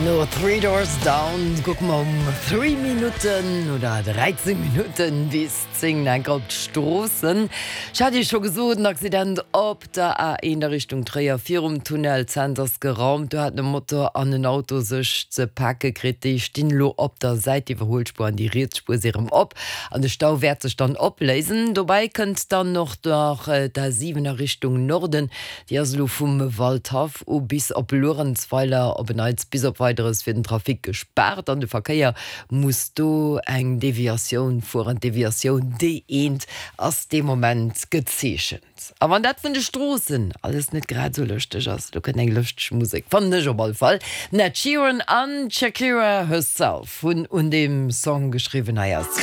No Three Doors Down kucke mer um 3 Minutten oder 13 Minutten bis 10 enk op d'Stroossen. Ech hat Iech scho gesot, en Accident op der A1 a Richtung Tréier virum Tunnel Cents ass geraumt. Do haten e Motor an en Auto sech ze pake kritt. Déi stinn elo op der Säit, d'Iwwerhuelspuer an déi riets Spuer si rëm op an de Stau wäert sech dann opléisen. Dobäi kënnt dann och nach d'A7 a Richtung Norden. Déi ass elo vum Waldhaff u bis op Luerenzweiler op en Neits bis op Weideres fir den Trafic gespaart an de Verkéier muss do eng Deviatioun fueren. D'Deviatioun D1 ass dee Moment gezeechent. A wann dat vun de Stroossen alles net grad esou lëschteg ass, do kënnt eng lëschteg Musek, fannen ech op alle Fall. Den Ed Sheeran an d'Shakira herself hunn un deem Song geschriwwen. Hei ass.